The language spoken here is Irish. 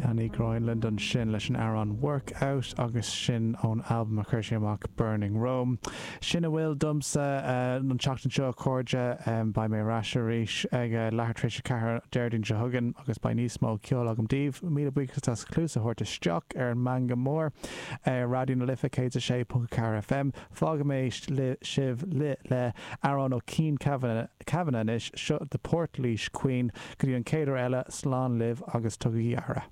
Danny Grineland ansin leis an amhrán Work Out agus sin ón albam a chuir sé amach Burning Rome. Sin a bhfuil domsa an tseachtain seo a chairde. Beidh mé ar ais arís ag leathuair tar éis a 4 Déardaoin seo chugainn agus beidh níos mó ceoil agam daoibh. Míle buíochas as cluas a thabhairt isteach ar an Meangadh Mór ar Raidió na Life 106.4 FM. Fágfaidh mé sibh le amhrán ó Cian Kavanagh anois, seo The Portlaoise Queen. Go dtí an chéad uair eile, slán libh agus tugaigí aire.